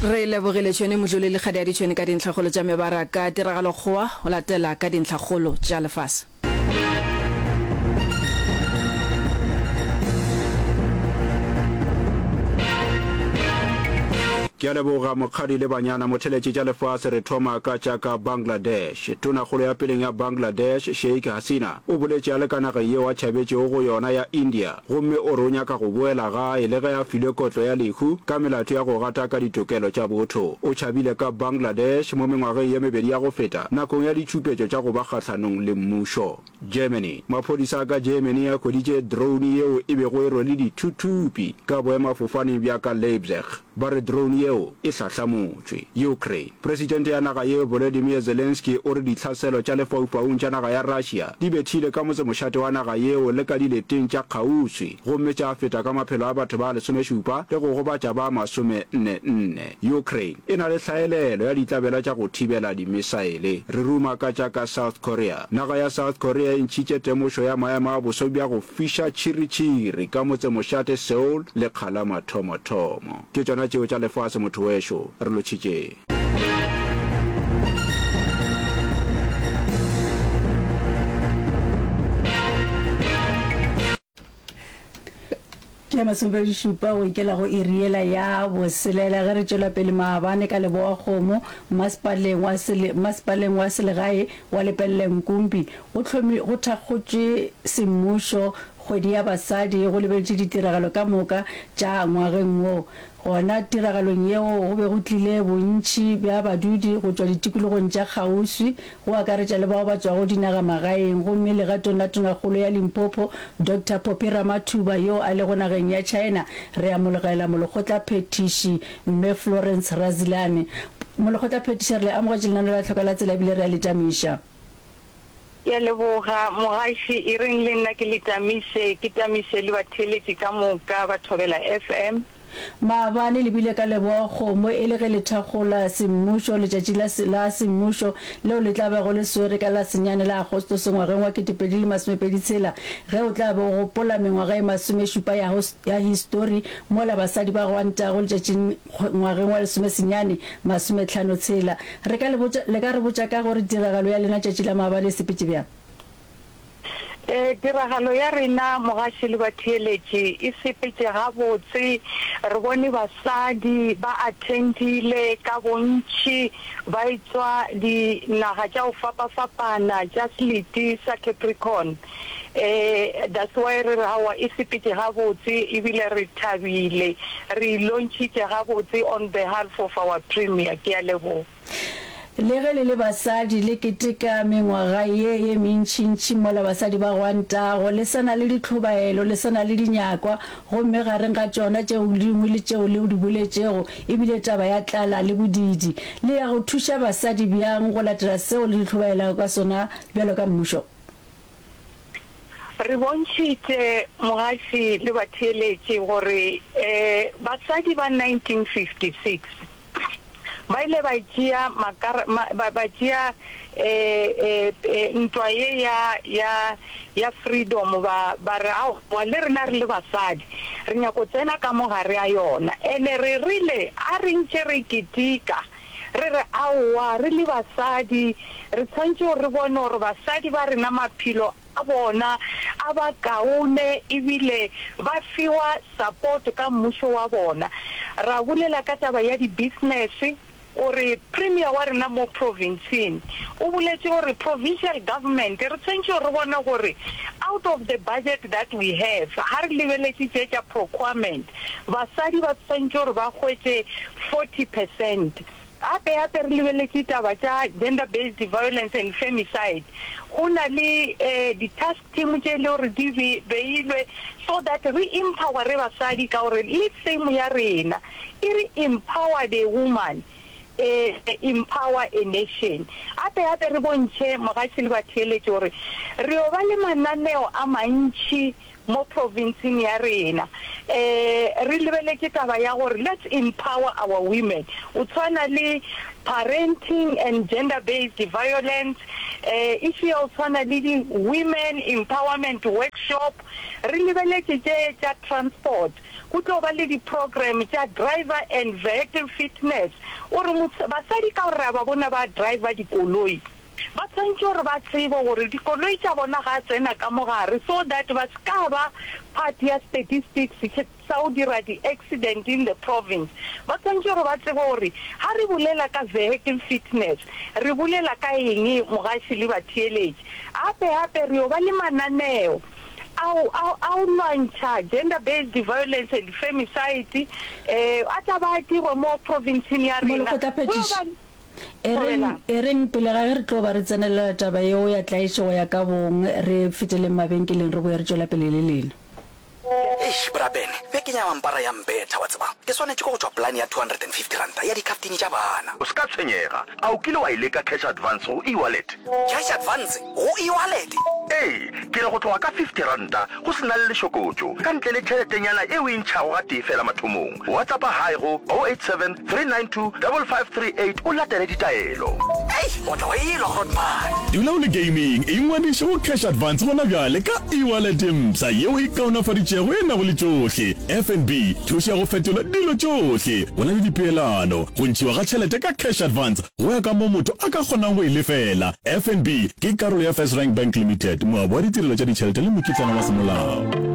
Re lebogile Tšhwene Modluli le Kgadi ya Ditšhwene ka dintlhakgolo tša mebaraka. Tiragalokgowa o latela ka dintlhakgolo tša lefase. Ke a leboga Mokgadi le Banyana Motheletši tša lefase re thoma ka tša ka Bangladesh. Tonakgolo ya peleng ya Bangladesh, Sheikh Hasina, o boletše a le ka nageng yeo a tšhabetšego go yona ya India gomme o re o nyaka go boela gae le ge a filwe kotlo ya lehu ka melato ya go gataka ditokelo tša botho. O tšhabile ka Bangladesh mo mengwageng ye mebedi ya go feta nakong ya ditšhupetšo tša go ba kgahlanong le mmušo. Germany, Maphodisa a ka Germany a hweditše drone yeo e bego e rwele dithuthupi ka boemafofaneng bja ka Leipzig. Ba re drone yeo e hlahlamotšwe. Ukraine, Presidente ya naga yeo Volodymyr Zelensky o re ditlhaselo tša lefaufaung tša naga ya Russia di bethile ka motsemošate wa naga yeo le ka dileteng tša kgauswi gomme tša feta ka maphelo a batho ba lesomešupa le go gobatša ba masomenne-nne. Ukraine e na le hlaelelo ya ditlabela tša go thibela dimisaele. Re ruma ka tša ka South Korea. Naga ya South Korea e ntšhitše temošo ya maemo a boso bja go fiša tšhiritšhiri ka motsemošate Seoul lekga la mathomothomo. Ke tšona tšeo tša lefase motho wešo. Re lotšhitšeng. Ke masomepedišupa go ikela go iri yela ya boselela ge re tšwela pele maabane ka Lebowakgomo masepaleng wa sele, masepaleng wa selegae wa Lepelle Nkumpi go hlomi, go thakgotšwe semmušo kgwedi ya basadi go lebeletše ditiragalo ka moka tša ngwageng wo. Gona tiragalong yeo go be go tlile bontši bja badudi go tšwa ditikologong tša kgauswi, go akaretša le bao ba tšwago dinagamagaeng, gomme legatong la Tonakgolo ya Limpopo, Doctor Phophi Ramathuba yo a lego nageng ya China, re amologela Molekgotlaphethiši Mme Florence Razilane. Molekgotlaphethiši, re le amogetše lenaneo la Tlhoka la Tsela ebile re a le tamiša. Ke a leboga, mogaši. E reng le nna ke le tamiše, ke tamiše le batheeletši ka moka ba Thobela FM. Maabane le bile ka Leboa-Kgomo e le ge le thakgola semmušo letšatši la la semmušo leo le tla bego le swere ka la senyane la Agostose ngwageng wa 2026 ge o tla be o gopola mengwaga e masomešupa ya ya histori mola basadi ba gwantago letšatšing ngwageng wa lesomesenyane masometlhano tshela. Re ka le botša, le ka re botša ka gore tiragalo ya lena tšatši la maabane e sepetše bjang? Ee, tiragalo ya rena, mogaši le batheeletši, e sepetše gabotse. Re bone basadi ba attendile ka bontši ba etšwa dinaga tša go fapafapana tša selete sa Capricorn. Ee, that's why re re aowa e sepetše gabotse ebile re thabile. Re e launchitše gabotse on behalf of our Premier. Ke a leboga. Le ge le le basadi le keteka mengwaga ye ye mentšintši mola basadi ba gwantago, le sa na le ditlhobaelo, le sa na le dinyakwa, gomme gareng ga tšona tšeo dingwe le tšeo le di boletšego e bile taba ya tlala le bodiidi. Le ya go thuša basadi bjang go latela seo le di hlobaelago ka sona bjalo ka mmušo? Re bontšhitše mogaši le batheeletši gore basadi ba 1956 ba ile ba tšea makara, ba, ba tšea ntwa ye ya, ya, ya freedom, ba, ba re aowa le rena re le basadi re nyako tsena ka mo gare a yona. Ene re rile a re ntše re ketika Re re, Aowa, re le basadi, re tshwanetše gore re bone gore basadi ba rena maphelo a bona a ba kaone ebile ba fiwa support ka mmušo wa bona. Ra bolela ka taba ya di-business gore Premier wa rena mo provinceng o boletše gore provincial government re tshwanetše gore re bone gore out of the budget that we have ha re lebeletše tše tša procurement Basadi ba swantše gore ba hwetše 40 percent. Gape gape re lebeletše taba tša gender based violence and femicide. Go na le di task team tše e le gore di beilwe so that re empowere basadi ka gore le theme ya rena e re empower the woman, empower a nation. Gape gape re bontšhe mogatši le batheeletši gore re yo ba le mananeo a mantši. mo provinceng ya rena. Um re lebeletše taba ya gore let's empower our women, o tshwana le parenting and gender based violence, um issue ya go tshwana le di women empowerment workshop, re lebeletše tše tša transport, go tlo ba le di program tša driver and vehicle fitness, gore basadi ka gore re a ba bona ba driver dikoloi, Ba swanetše gore ba tsebe gore dikoloi tša bona ga tsena ka mo gare so that ba se ka ba part ya statistics sa go dira di accident in the province. Ba swanetše gore ba tsebe gore ga re bolela ka vehicle fitness re bolela ka eng mogaši le batheeletši. Gape gape re yo ba le mananeo ao ao a go lwantšha gender based violence and femicide a tla ba a dirwa mo provinceng ya rena. Go yo ba. E reng, e reng, pele ga ge re tlo ba re tsenelela taba yeo ya tlaišego ya ka bong, re feteleng mabenkeleng re boye re tšwela pele le lena. Eish, Bra Ben, bekeng ya mampara ya mpetha, wa tseba. Ke swanetše ke go tšwa polane ya R250 ya dikhaftini tša bana. O se ka tshwenyega. A o kile wa e leka cash advance go eWallet? Cash advance go eWallet? Ee, ke re go tloga ka R50 go se na le lešokotšo, ka ntle le tšheletenyana e o e ntšhago gatee feela mathomong. WhatsAppa Hi go 087 392 5538 o latele ditaelo. Ei, o tla wa elwa Grootman. Dula o le gaming, ingwadiše go Cash Advance gona bjale ka e-wallet e mpsha yeo e kaonafaditšego e nago le tšohle. FNB, thušo ya go fetola dilo tšohle. Go na le dipeelano, go ntšhiwa ga tšhelete ka Cash Advance go ya ka moo motho a ka kgonang go e lefela. FNB ke karolo ya FirstRand Bank Limited, moabi wa ditirelo tša ditšhelete le mokitlana wa semolao.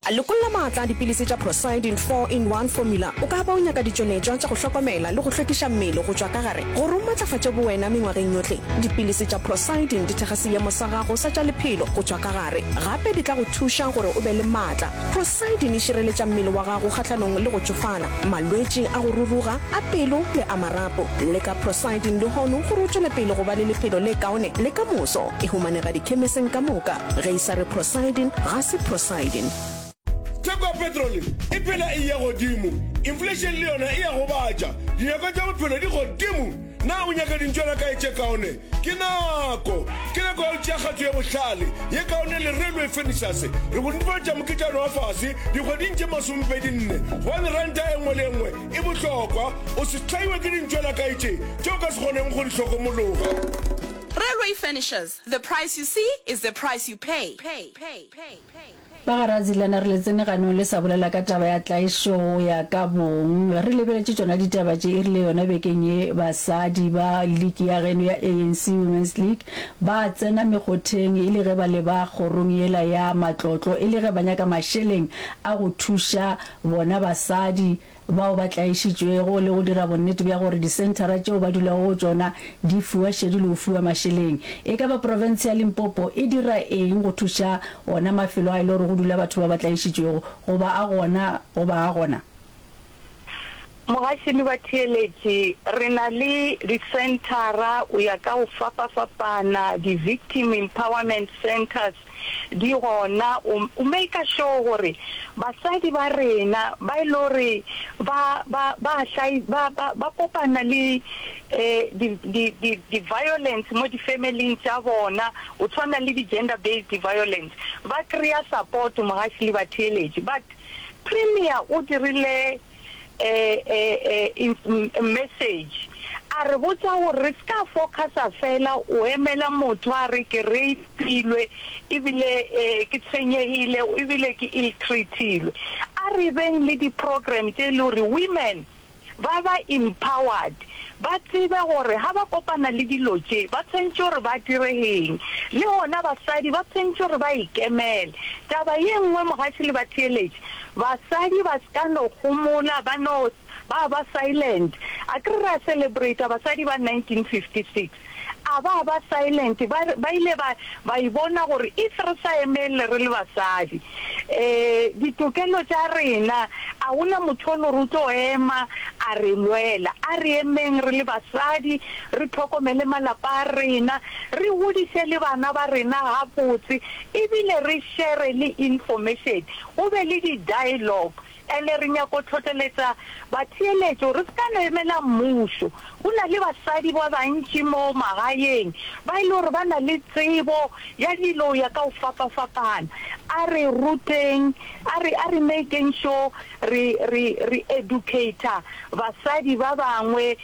Lokolla maatla a dipilisi tša Procyldin 4-in-1 Formula. O ka ba o nyaka ditšweletšwa tša go hlokomela le go hlwekiša mmele go tšwa ka gare gore o matlafatše bowena mengwageng yohle. Dipilisi tša Procyldin di thekga seemo sa gago sa tša lephelo go tšwa ka gare. Gape di tla go thuša gore o be le maatla. Procyldin e šireletša mmele wa gago kgahlanong le go tšofala, malwetši a go ruruga, a pelo le a marapo. Leka Procyldin lehono gore o tšwele pele go ba le lephelo le kaone le ka moso. E humanega dikhemeseng ka moka. Ge e sa re Procyldin, ga se Procyldin. Theko ya petrole e phela e eya godimo, inflation le yona e a gobatša, dinyakwa tša bophelo di godimo. Na o nyaka dintšwana kae tše kaone? Ke nako! Ke nako ya go tšea kgato ye bohlale, ye kaone le Railway Furnitures. Re go netefaletša moketšana wa fase dikgweding tše masomepedinne, gobane ranta e nngwe le e nngwe e bohlokwa. O se hlaiwe ke dintšwana kae tše tše o ka se kgoneng go di hlokomologa. Railway Furnitures, the price you see is the price you pay. Ba ga Radzilana re le tsene ganong le sa bolela ka taba ya tlaišo go ya ka bong. Re lebeletše tšona ditaba tše e rile yona bekeng ye basadi ba liki ya geno ya ANC Women's League ba tsena mekgotheng e le ge ba leba kgorong yela ya matlotlo e le ge ba nyaka mašeleng a go thuša bona basadi bao ba tlaišitšwego le go dira bonnete bja gore disenthara tšeo ba dulago go tšona di fiwa šedi le go fiwa mašeleng. E ka ba profense ya Limpopo e dira eng go thuša ona mafelo a e le gore go dula batho ba ba tlaišitšwego goba a gona goba a gona? Mogaši le batheeletši, re na le disenthara o ya ka go fapafapana, di-victim empowerment centres, di gona, o, o maker sure gore basadi ba rena ba e le gore ba, ba, ba hlai, ba, ba, ba kopana le eh, di, di, di, di violence mo di family-ing tša bona, o tshwana le di gender based violence, ba kry-a support mogaši le batheeletši. But Premier o dirile message a re botša gore re se ka focusa fela o emela motho a re ke rape-ilwe ebile ke tshwenyegile ebile ke ill-treat-ilwe. A re beng le di-program tše e le gore women ba ba empowered ba tsebe gore ga ba kopana le dilo tše ba tshwanetše gore ba dire eng le gona basadi ba tshwanetše gore ba ikemele. Taba ye nngwe mogaši le batheeletši Basadi ba se ka no homola, ba no ba ba silent. Akere ra celebrata basadi ba 1956. A ba ba silent, ba, ba ile ba, ba e bona gore if re sa emelle re le basadi, eh, ditokelo tša rena, a go na motho o le gore o tlo ema a re lwela. A re emeng re le basadi, re hlokomele malapa a rena, re godiše le bana ba rena gabotse, ebile re share le information. Go be le di-dialogue. Ene re nyako tlhotleletsa batheeletši gore re se ka no emela mmušo. Go na le basadi ba bantši mo magaeng ba e le gore ba na le tsebo ya dilo ya ka go fapafapana. A re ruteng, a re, a re makeng sure re, re, re educator basadi ba bangwe,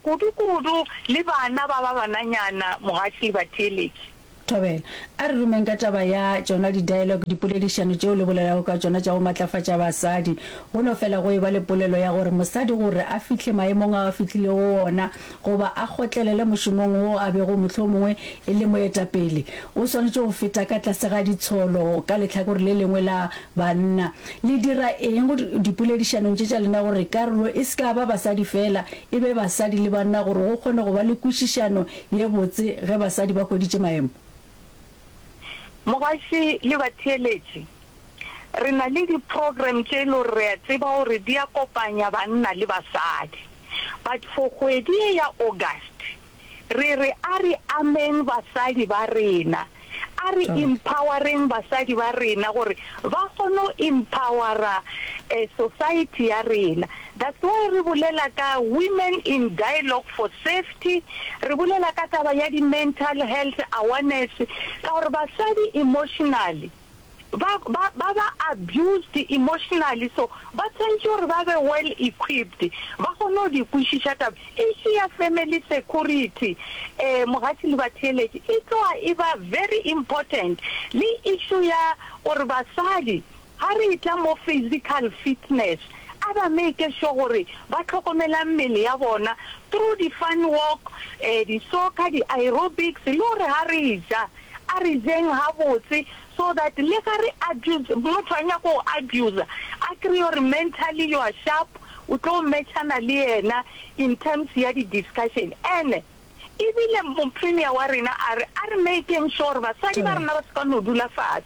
kudu-kudu le bana ba ba bananyana, mogaši le batheeletši. Thobela. A re rumeng ka taba ya tšona di-dialogue, dipoledišano tšeo le bolelago ka tšona tša go matlafatša basadi. Go no fela go eba le polelo ya gore mosadi gore a fihle maemong ao a fihlilego go ona goba a kgotlelele mošomong wo a bego mohlomongwe e le moetapele, o swanetše go feta ka tlase ga ditsholo ka lehlakore le lengwe la banna. Le dira eng dipoledišanong tše tša lena gore karolo e se ka ba basadi feela, e be basadi le banna gore go kgone go ba le kwešišano ye botse ge basadi ba hweditše maemo? Mogaši le batheeletši, re na le di program tše e le gore re a tseba gore di a kopanya banna le basadi. But for kgwedi ye ya August, re re a re ameng basadi ba rena, a re empowereng basadi ba rena gore ba kgone go empowera society ya rena. That's why re bolela ka women in dialogue for safety, re bolela ka taba ya di mental health awareness ka gore basadi emotionally ba ba ba ba abused emotionally so ba tshwanetše gore ba be well equipped ba kgone go di kwešiša taba. Issue ya family security eh mogatši le batheeletši e tloga e ba very important le issue ya gore basadi Ga re etla mo physical fitness, a ba make sure gore ba hlokomela mmele ya bona through di fun walk, di soccer, di aerobics le gore ga re ja, a re jeng gabotse so that le ga re abuse, motho a nyaka go abuser a kreye gore mentally you are sharp, o tlo matchana le yena in terms ya di discussion. Ene E bile Mopremier wa rena a re, a re makeng sure gore basadi ba rena ba se ka no dula fase,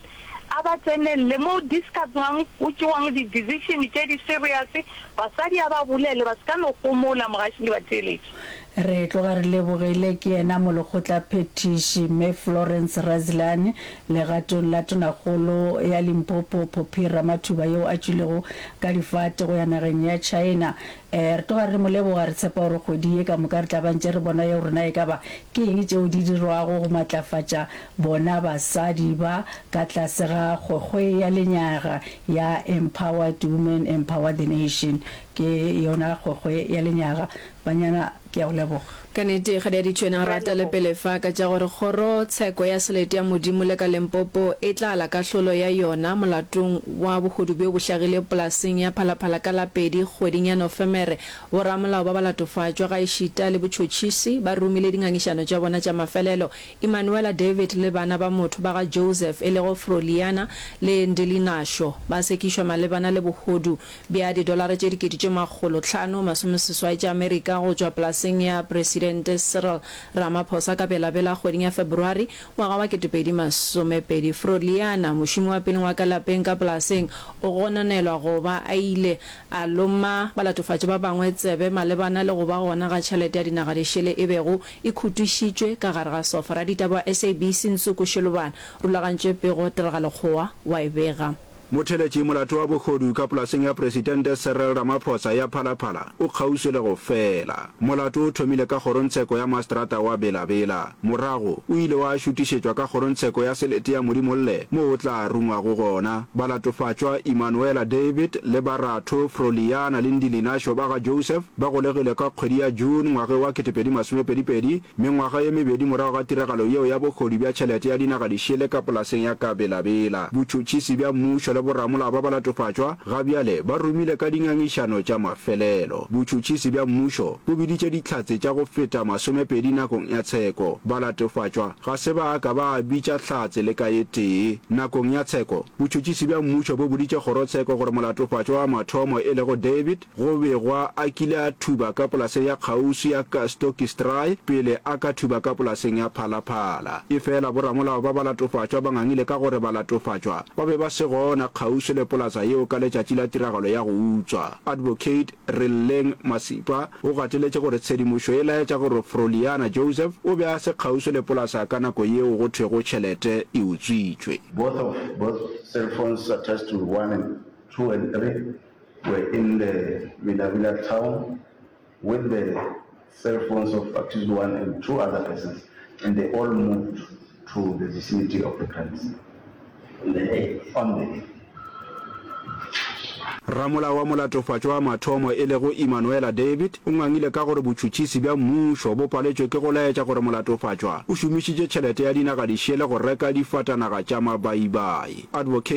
a ba tsenelele mo discusswang, go tšewang di decision tše di serious, basadi a ba bolele, ba se ka no homola, mogaši le batheeletši. Re tloga re lebogile ke yena Molekgotlaphethiši Mme Florence Radzilani legatong la Tonakgolo ya Limpopo Phophi Ramathuba yeo a tšwilego ka difate go ya nageng ya China. Ee, re tloga re mo leboga, re tshepa gore kgwedi ye ka moka re tla ba ntše re bona ye gore na e ka ba ke eng tšeo di dirwago go matlafatša bona basadi ba ka tlase ga kgwekgwe ya lenyaga ya Empowered Women Empower the Nation. Ke yona kgwekgwe ya lenyaga. Banyana, ke a go leboga. Ka nnete, Kgadiadi Tšhwene a rata le pele fa ka tša gore Kgoro Tsheko ya Selete ya Modimo le ka Limpopo e tla ala kahlolo ya yona molatong wa bohodu bjo bo hlagile polaseng ya Phalaphala ka la pedi kgweding ya Nofemere. Boramolao ba balatofatšwa gaešita le botšhotšhisi ba romile dingangišano tša bona tša mafelelo. Emanuela David le bana ba motho ba ga Joseph e lego Froliana le Ndilinasho ba sekišwa malebana le bohodu bja didolara tše dikete tše makgolotlhano masomeseswai tša Amerika go tšwa polaseng ya Presidente Cyril Ramaphosa ka Bela-Bela kgweding ya February ngwaga wa 2020. Froliana, mošomi wa peleng wa ka lapeng ka polaseng, o gononelwa go ba a ile a loma balatofatši ba bangwe tsebe malebana le go ba gona ga tšhelete ya dinagadišele e bego e khutišitšwe ka gare ga sofa. Raditaba wa SABC Nsuku Shilubana rulagantše pego Tiragalokgowa wa e bega. Motheletši molato wa bohodu ka polaseng ya Presidente Cyril Ramaphosa ya Phalaphala o kgauswi le go fela. Molato o thomile ka kgorongtsheko ya mastrata wa Bela-Bela. Morago o ile wa šutišetšwa ka kgorongtsheko ya selete ya Modimolle moo o tla rungwago gona. Balatofatšwa Emanuela David le baratho Froliana le Ndilinasho ba ga Joseph ba golegilwe ka kgwedi ya June ngwageng wa 2022 Mengwaga ye mebedi morago ga tiragalo yeo ya bohodu bja tšhelete ya dinaga dišele ka polaseng ya ka Bela-Bela, botšhotšhisi bja mmušo le boramolao ba balatofatšwa ga bjale ba romile ka dingangišano tša mafelelo. Botšhotšhisi bja mmušo bo biditše dihlatse tša go feta masomepedi nakong ya tsheko. Balatofatšwa ga se ba ka ba bitša hlatse le ka ye tee. Nakong ya tsheko, botšhotšhisi bja mmušo bo boditše kgorotsheko gore molatofatšwa wa mathomo e lego David Go begwa a kile a thuba ka polaseng ya kgauswi ya Kastokistrai pele a ka thuba ka polaseng ya Phalaphala. Efela boramolao ba balatofatšwa ba ngangile ka gore balatofatšwa ba be ba se gona kgauswi le polasa yeo ka letšatši la tiragalo ya go utswa. Advocate Relleng Masipa o gateletše gore tshedimošo e laetša gore Froliana Joseph o be a se kgauswi le polasa ka nako yeo go thwego tšhelete e utswitšwe. Both of both cell phones attached to one and two and three. were in the Millawilla town with the cell phones of accused one and two other persons and they all moved to the vicinity of the crime scene on the 8th. On the 8th. Ramolao wa molatofatšwa wa mathomo e lego Imanuela David o ngangile ka gore botšhutšhisi bja mmušo bo paletšwe ke go laetša gore molatofatšwa o šomišitše tšhelete ya dinagadišele go reka difatanaga tša mabaibai. Advocate.